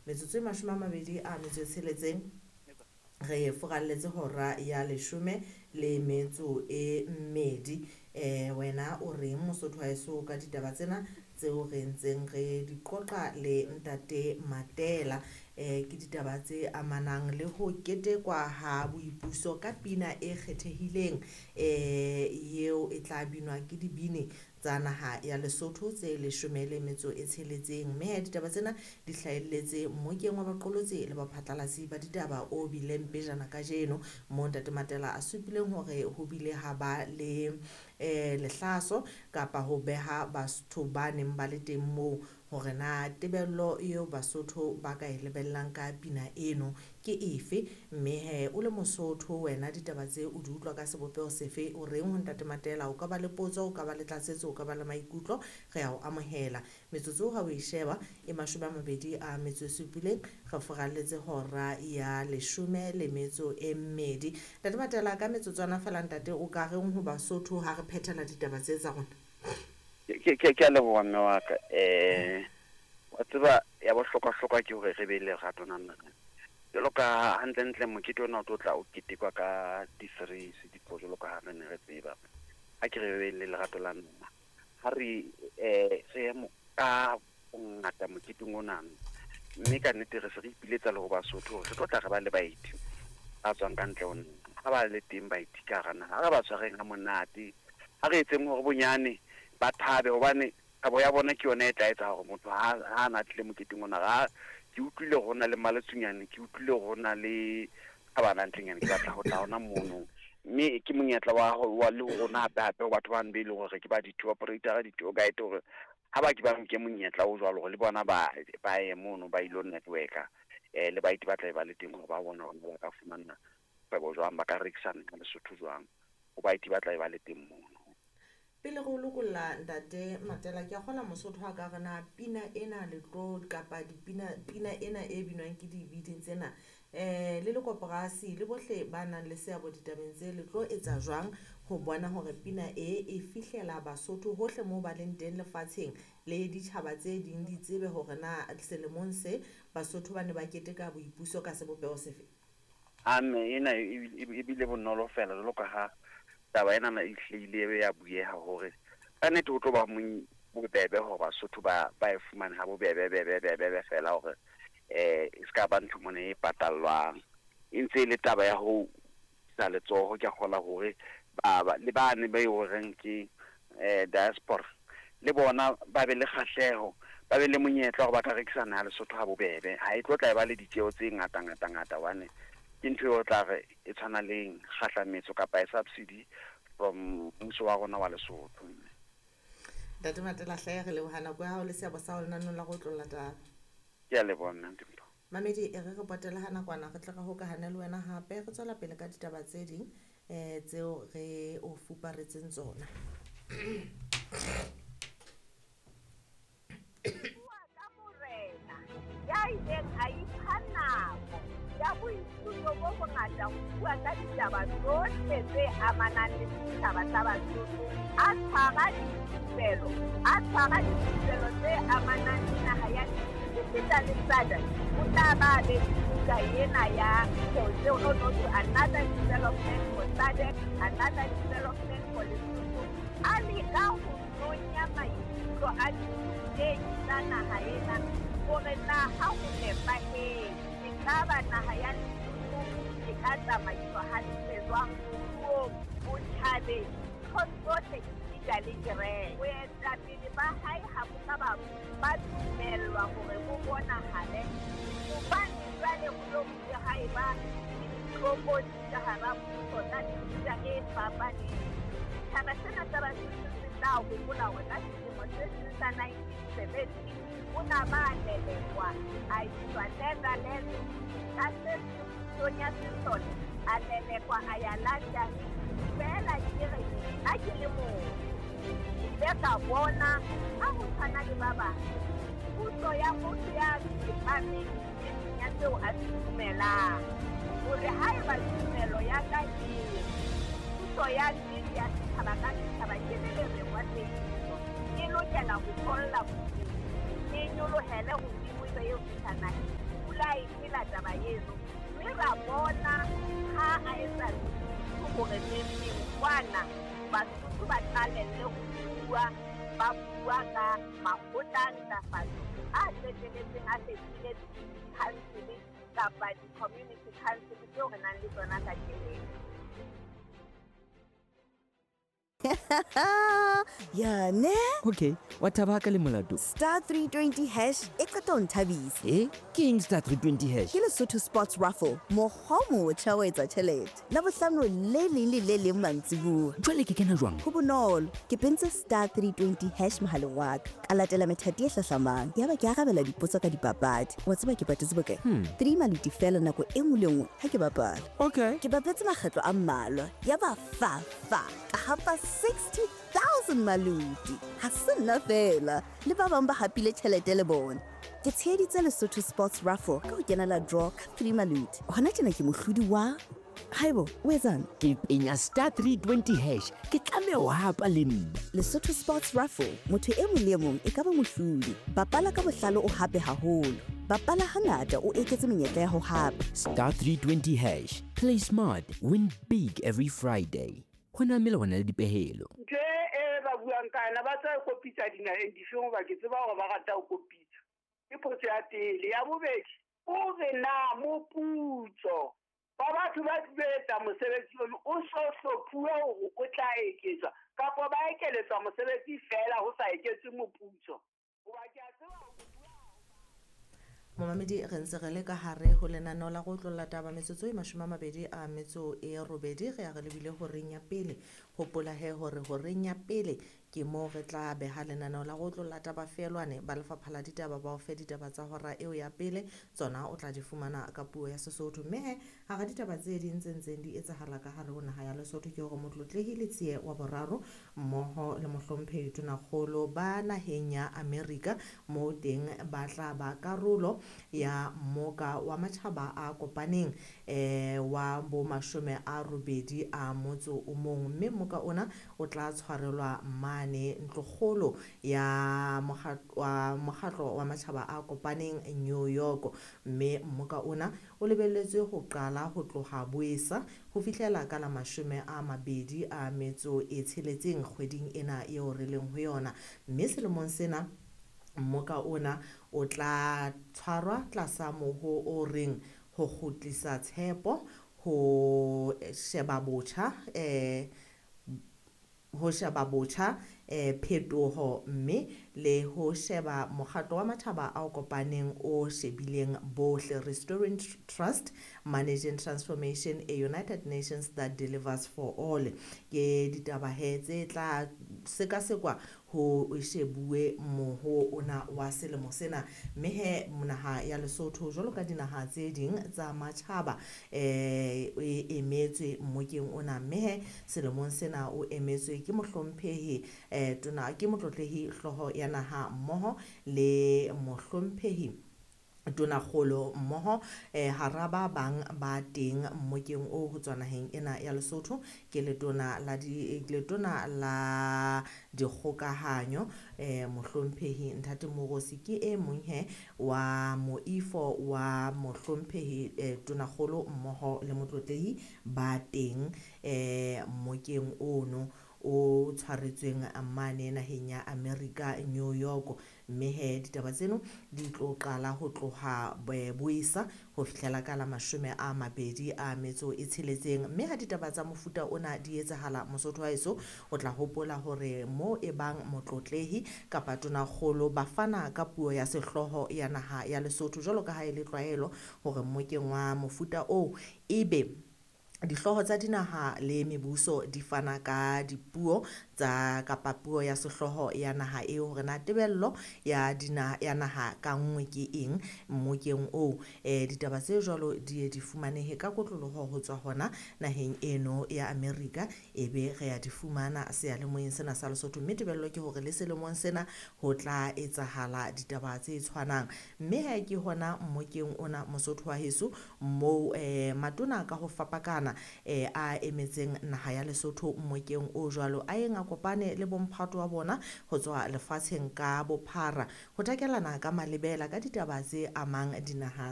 Metsotso e 26 re furalletse hora ya 12. Wena o reng Mosotho wa heso ka ditaba tsena tseo re ntseng re di qoqa le Ntate Matela? Ke ditaba tse amanang le ho ketekwa ha boipuso ka pina e kgethehileng eo e tla binwa ke dibini tsa naha ya Lesotho tse 16. Mme ditaba tsena di hlahelletse mmokeng wa baqolotsi le baphatlalatsi ba ditaba o bileng pejana kajeno, moo Ntate Matela a supileng hore ho bile ha ba le lehlaso kapa ho beha batho ba neng ba le teng moo hore na tebello eo Basotho ba ka e lebellang ka pina eno ke efe. Mme he o le Mosotho wena ditaba tse o di utlwa ka sebopeho sefe? O reng ho Ntate Matela? O ka ba le potso, o ka ba le tlatsetso, o ka ba le maikutlo, re a o amohela. Metsotso ha o e sheba e 27 re furalletse hora ya 12. Ntate Matela, ka metsotswana fela ntate, o ka reng ho Basotho ha re phethela ditaba tse tsa rona? Ke a leboha mme wa ka. Wa tseba ya bohlokwa-hlokwa ke hore re be le lerato nana. Jwalo ka hantle-ntle mokete ona o tlo tla o ketekwa ka di-3 di-4 jwalo ka ha re ne re tseba. Ha ke re be le lerato la nna. Ha re re ka bongata moketeng ona, mme ka nnete re se re ipiletsa le ho Basotho hore re tlo tla re ba le baeti ba tswang ka ntle ho nna. Ha ba le teng baeti ka hara naha, ha re ba tshwareng ha monate, ha re etseng hore bonyane ba thabe, hobane thabo ya bona ke yona e tla etsa hore motho ha a tlile moketeng ona. Ha ke utlwile hore ho na le Maletsunyane, ke utlwile hore ho na le Thabana ntlenyane, ke batla ho tla hona mono. Mme ke monyetla wa le ho rona hape hape ho batho bano be leng hore ke ba di-tour operator, di-tour guide, hore ha ba ke ba nke monyetla o jwalo hore le bona ba ye mono ba ilo network-a le baeti ba tla be ba le teng hore ba bone hore ba ka fumana kgwebo jwang, ba ka rekisa naha Lesotho jwang, ho baeti ba tla be ba le teng mono. Pele re o lokolla Ntate Matela, ke a kgola Mosotho a ka re na pina ena le tlo kapa dipina, pina ena e binwang ke dibini tsena le le koporasi le bohle ba nang le seabo ditabeng tse, le tlo etsa jwang ho bona hore pina e e fihlela Basotho hohle moo ba leng teng lefatsheng le ditjhaba tse ding di tsebe hore na selemong se Basotho ba ne ba keteka boipuso ka sebopeho sefe? Mme ena e bile bonolo fela jwalo ka ha taba ena e hlile ya bueha hore ka nnete ho tlo ba bobebe hore Basotho ba e fumane ha bobebe bebe bebe fela, hore e ska ba ntho mona e patallwang. E ntse e le taba ya ho isa letsoho, ke a kgola hore ba le bane ba e horeng ke diaspora le bona ba be le kgahleho, ba be le monyetla hore ba ka rekisa naha Lesotho ha bobebe. Ha e tlo tla e ba le ditjeo tse ngata ngata ngata, hobane ke ntho eo tla re e tshwana le kgahlametso kapa e subsidy from mmuso wa rona wa Lesotho. Ntate Matela hle, re leboha nako ya hao le seabo sa hao lenaneng la go tlolla taba. Ke a leboha mme Ntimpo. Mamedi, e re re potele ha nakwana, re tle re hokahane le wena hape, re tswela pele ka ditaba tse ding tseo re o fuparetseng tsona. Bua ka morena ya ileng a ipha nako ya boithuto bo bongata ho bua ka ditaba tsohle tse amanang le setjhaba sa Basotho, a tshwara dithupelo, a tshwara dithupelo tse amanang le naha ya esita le SADC. O tla ba be le buka ena ya no to another development for SADC, another development for Lesotho. A leka ho nonya maikutlo a ditei tsa naha ena hore na ha ho nepahetse, ekaba naha ya Lesotho e ka tsamaiswa hantle jwang moruong, botjhabeng, ntho tsohle esita le kereke. Boetapele ba hae ha bo ka ba dumellwa hore bo bonahale, hobane jwale ho lo bile ha eba le ditlokotsi ka hara mmuso tsa mefuta e fapaneng. Setjhaba sena sa Basotho se tla hopola hore ka selemo se seng sa 1970 o na ba lelekwa a iswa Netherlands, ka se seng pusong ya sesole a lelekwa a ya London. Feela ke re nna ke le motho, ke ile ka bona ha ho tshwana le ba bang puso ya motho ya tsepameng e seng ya seo a se dumelang, hore haeba tumelo ya ka e puso ya nnete ya setjhaba ka setjhaba ke le lereng wa tsebiso, e lokela ho tholla modimo, e nyolohele hodimo ebe eo fihla naheng. eno, mme ra bona ha a etsa hore neng kwana Basotho ba qalelle ho bua, ba bua ka makgotla a ntlafatso a qetelletseng a fetohile di-council kapa di-community council tseo re nang le tsona kajeno. Ya ne? Okay, wa thaba ka le molato. Star 320 hash e qeta ho nthabisa. Ke eng star 320 hash? Ke Lesotho Sports Raffle, mokgwa o motjha wa etsa tjhelete. Labohlano le leng le le leng mantsibuya. Jwale ke kena jwang? Ho bonolo, ke pentse star 320 hash mohaleng wa ka. Ka latela methati e hlahlamang. Yaba ke arabela dipotso ka dipapadi. Wa tseba ke patetse bokae? 3 maluti fela nako e nngwe le nngwe ha ke bapala. Okay. Ke bapetse makgetlo a mmalwa. Yaba fa fa ka hapa 60,000 maluti. Ha se nna fela, le ba bang ba hapile tjhelete le bona. Ke tsheheditse Lesotho Sports Raffle ka ho kenela draw ka 3 maluti. Hona tjena ke mohlodi wa Haibo, o etsang? Ke penya star 320 hash. Ke tlameha ho hapa le nna. Lesotho Sports Raffle, motho e mong le e mong e ka ba mohlodi. Bapala ka bohlale o hape haholo. Bapala hangata o eketse menyetla ya ho hapa. Star 320 hash. Play smart, win big every Friday. Ho na melawana le dipehelo. Ntho e ba buang ka yona, ba tla kopitsa dinaheng difeng hoba ke tseba hore ba rata ho kopitsa. Ke potso ya pele. Ya bobedi, o re na moputso wa batho ba tlilo etsa mosebetsi ono o so hlophuwe hore o tla eketswa kapa ba ekeletswa mosebetsi feela ho sa eketswe moputso. Hoba ke a tseba hore Momamedi, re ntse re le ka hare ho lenaneo la go otlolla taba metsotso e 28 re ya re lebile horeng ya pele. Hopola he hore horeng ya pele ke moo re tla beha lenaneo la go otlolla taba feelwane ba lefapha la ditaba ba o fe ditaba tsa hora eo ya pele, tsona o tla di fumana ka puo ya Sesotho. Mme he hara ditaba tse ding tse ntseng di etsahala ka hare ho naha ya Lesotho ke hore Motlotlehile Letsie wa boraro mmoho le mohlomphehi Tonakgolo ba naheng ya Amerika moo teng ba tla ba karolo ya mmoka wa matjhaba a kopaneng wa bo 81, mme mmoka ona o tla tshwarelwa mane ntlokgolo ya mokgatlo wa matjhaba a kopaneng New York. Mme mmoka ona o lebelletswe ho qala ho tloha Boesa ho fihlela ka la 26 kgweding ena eo re leng ho yona. Mme selemong sena mmoka ona o tla tshwarwa tlasa moho o reng ho kgutlisa tshepo, ho sheba botjha phetoho, mme le ho sheba mokgatlo wa matjhaba a kopaneng o shebileng bohle, Restoring Trust, Managing Transformation, a United Nations that delivers for all. Ke ditaba he tse tla sekasekwa ho shebuwe moho ona wa selemo sena. Mme he naha ya Lesotho jwalo ka dinaha tse ding tsa matjhaba e emetswe mmokeng ona. Mme he selemong sena o emetswe ke mohlomphehi tona ke motlotlehi hlooho ya naha mmoho le mohlomphehi Tonakgolo mmoho hara ba bang ba teng mmokeng o ho tswa naheng ena ya Lesotho ke letona la dikgokahanyo mohlomphehi Ntate Moorosi ke e mong he wa moifo wa mohlomphehi Tonakgolo mmoho le motlotlehi ba teng mmokeng ono o tshwaretsweng mane naheng ya America New York. Mme he ditaba tseno di tlo qala ho tloha Boesa ho fihlela ka la 26. Mme ha ditaba tsa mofuta ona di etsahala Mosotho wa heso, o tla hopola hore mo e bang motlotlehi kapa Tonakgolo ba fana ka puo ya sehlooho ya naha ya Lesotho jwalo ka ha e le tlwaelo hore mmokeng wa mofuta oo ebe dihlooho tsa dinaha le mebuso di fana ka dipuo tsa kapa puo ya sehlooho ya naha eo, hore na tebello ya ya naha ka nngwe ke eng mmokeng oo. Ditaba tse jwalo di ye di fumanehe ka kotloloho ho tswa hona naheng eno ya Amerika, ebe re ya di fumana seyalemoyeng sena sa Lesotho. Mme tebello ke hore le selemong sena ho tla etsahala ditaba tse tshwanang. Mme ha ke hona mmokeng ona Mosotho wa heso moo matona ka ho fapakana a emetseng naha ya Lesotho mmokeng o jwalo a yeng a kopane le bomphato wa bona ho tswa lefatsheng ka bophara ho takelana ka malebela ka ditaba tse amang dinaha